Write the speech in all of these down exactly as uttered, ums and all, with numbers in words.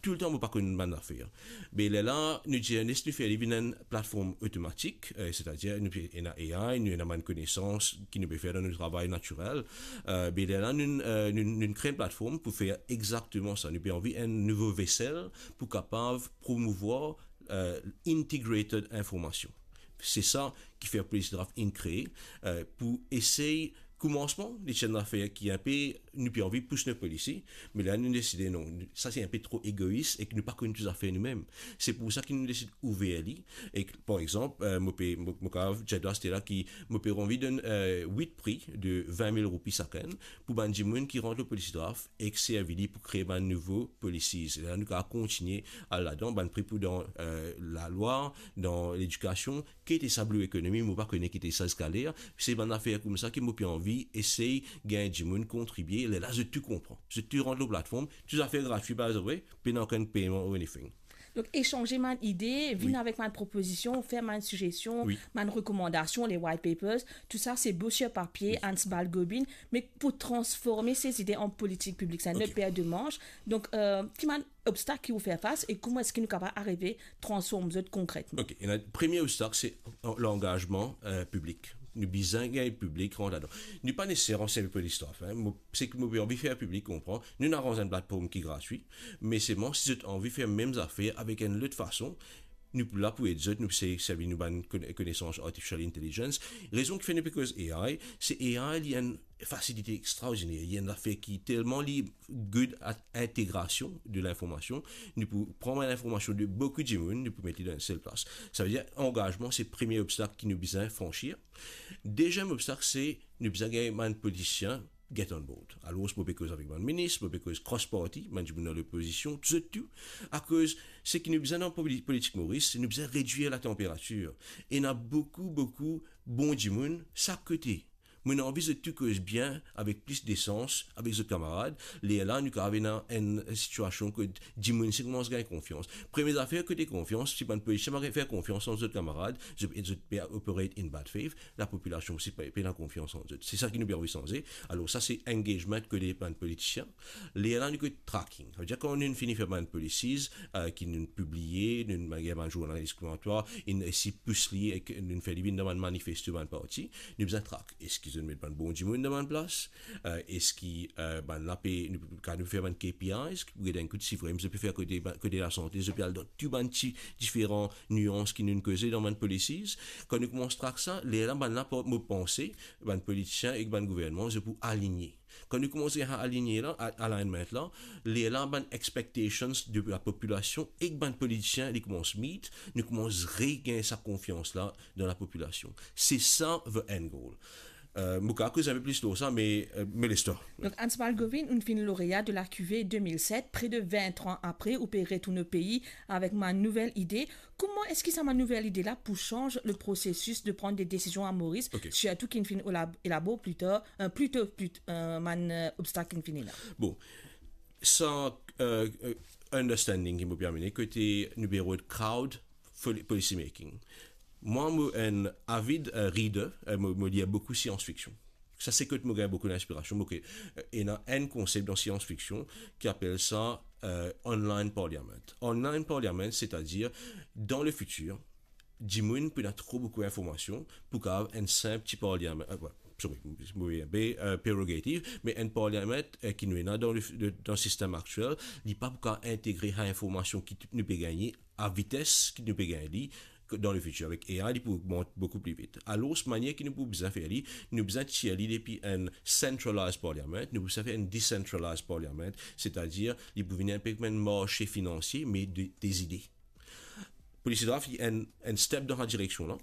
Toultan mo pa konn bann zafer. Me lerla nou dir, les nou fer li vinn enn platform otomatik, eh, setadir nou pe ena A I, nou ena bann konesans ki nou pe fer dan nou travay natirel. Eh, me lerla nou, eh, nou, nou kre enn platform pou fer exakteman sa. Nou pe anvi enn nouvo vesel pou kapav promouvwar, eh, integrated information. Se sa ki fer Policy Draft inn kree, eh, pou esey koumansman, li ti enn zafer ki inpe, nou pe anvi pous nou policy, me la nou deside non, sa se inpe tro egois ek nou pa konn tou zafer noumem. Se pou sa ki nou deside ouver li. Ek par exanp, eh, mo pe, mo, mo kapav dir twa la ki mo pe anvi donn, eh, wit pri de vin mil roupi sakenn pou bann dimoun ki rant lor Policy Draft ek servi li pou kree bann nouvo policies. La nou kapav kontigne al ladan, bann pri pou dan, eh, lalwa, dan ledikasion, ki ete sa blue economy, mo pa kone ki ete sa ziska ler. Se bann zafer koumsa ki mo pe anvi esey gagn dimoun kontribie, lerla zot tou konpran. Zot tou rant lor platform, tou zafer gratwi, by the way, pena okenn peyman or anything. Donk, esanze bann ide, vinn avek bann propozision, fer bann sigestion, bann rekomandasion, les white papers, tou sa se bo sir papie, Hans Balgobin, me pou transforme se zide an politik piblik, se enn lot per de manch. Donk, eh, ki bann obstak ki ou fer fas e kouma eski nou kapav arive transform zot konkretman? Ok, ena, premie obstak se langazman, eh, piblik. Nou bizin gagn piblik rant ladan. Nou pa neseser ansegn Policy Draft, hein. Mo, seki mo pe anvi fer piblik konpran, nou ena aranz enn platform ki gratwi, me selman si zot anvi fer mem zafer avek enn lot fason, nou pou la pou ed zot, nou pe servi nou bann kone-, konesans artificial intelligence. Rezon ki fer nou pe koz A I, se A I li enn fasilite extraordiner, li enn zafer ki telman li good at integrasion de linformasion, nou pou pran linformasion de boukou dimoun, nou pou met li dan enn sel plas. Savedir, angazman, se premie obstak ki nou bizin fransir. Deziem obstak, se nou bizin gagn bann politisien get on board. Alor, mo pe koz avek bann minis, mo pe koz cross party, bann dimoun dan lopozision, zot tou. Akoz, seki nou bizin dan poli-, politik Moris, nou bizin redwir latanperatir. Ena boukou, boukou bon dimoun sak kote. Mo ena anvi zot tou koz bien, avek plis desans, avek zot kamarad. Lerla, nou kapav ena enn sitiasion kot dimoun inn koumans gagn konfians. Premie zafer kote konfians, si bann politisien pa fer konfians ant zot kamarad, zot, zot pe operate in bad faith, lapopilasion osi pe, pena konfians ant zot. Se sa ki nou pe anvi sanze. Alor sa se engagement kote bann politisien. Lerla nou koz tracking. Savedir kan nou fini fer bann policies, eh, ki nou piblie, nou, bann, bann zournal diskriminatwar, inn esi pous li ek nou fer li vinn dan bann manifesto bann parti, nou bizin track. Eski zot met bann bon dimoun dan bann plas? Eh, eski, eh, bann la pe, nou, kan nou fer bann K P Is, pou get enn kout sif, vremem, zot pe fer kote, kote lasante, zot pe al dan tou bann ti diferan nians ki nou koze dan bann policies. Kan nou koumans track sa, lerla bann la, mo panse, bann politisien ek bann gouvernman, zot pou aligne. Kan nou koumans gagn aligne la, a-, alignment la, lerla bann expectations de lapopilasion ek bann politisien, li koumans meet, nou koumans regagn sa konfians la dan lapopilasion. Se sa the end goal. Eh, mo kapav koz enn pe plis lor sa, me, eh, me les twa. Donk, Hans Balgobin, ou finn lauréat de la Q V deux mille sept, près de vingt ans après, ou pe retourn o pei avek bann nouvel ide. Kouma eski sa bann nouvel ide la pou sanz le prosesis de pran de desizion a Moris, sirtou ki finn elab-, elabor pli tar, eh, pli to, pli t-, eh, bann, eh, obstak ki finn la? Bon, sa, eh, eh, understanding ki mo pe amene, kote nou pe rod crowd poli-, policy making. Mwa, mo enn avid, eh, reader, eh, mo, mo lir boukou science fiction. Sa se kot mo gagn boukou linspirasion, mo ke, eh, ena enn konsep dan science fiction ki apel sa, eh, online parliament. Online parliament, setadir, dan le fitir, dimoun pou ena tro boukou informasion pou kapav enn sinp ti parliament, eh, sorry, mo, mo, be, eh, prerogative, me enn parliament, eh, ki nou ena dan le, de, dan sistem aktiel, li pa pou kapav integre sa informasion ki nou pe gagne a vites ki nou pe gagn li, dan le fitir, avek A I, li pou ogmant boukou pli vit. Alor, manier ki nou pou bizin fer li, nou bizin tir li depi enn centralized parliament, nou pou bizin fer enn decentralized parliament, setadir, li pou vinn enn pe kouma enn marse finansie, me de, de zide. Policy Draft, li enn, enn step dan sa direksion la.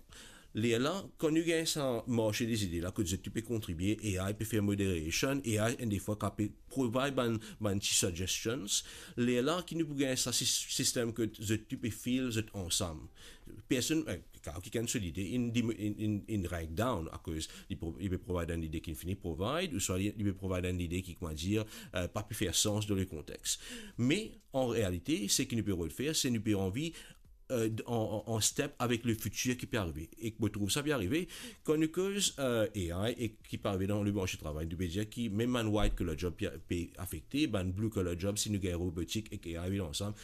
Lerla, kan nou gagn sa marse de zide la, kot zot tou pe kontribie, A I pe fer moderation, A I enn defwa kapav provide bann, bann ti suggestions. Lerla ki nou pou gagn sa sis-, sistem kot zot tou pe feel zot ansam. Personn, eh, kan kikenn so lide, inn dim-, inn, inn, inn write down, akoz li pro-, li pe provide enn lide ki fini provide, ouswa li, li pe provide enn lide ki, kouma dir, eh, pa pe fer sans dan le kontex. Me, an realite, seki nou pe rod fer, se nou pe anvi, eh, d-, an, an, an step avek le fitir ki pe arive. E mo trouv sa pe arive, kan nou koz, eh, A I e ki pe arive dan le marse travay, nou pe dir ki mem bann white collar job pe, pe afekte, bann blue collar job, si nou gagn robotik ek A I vinn ansam,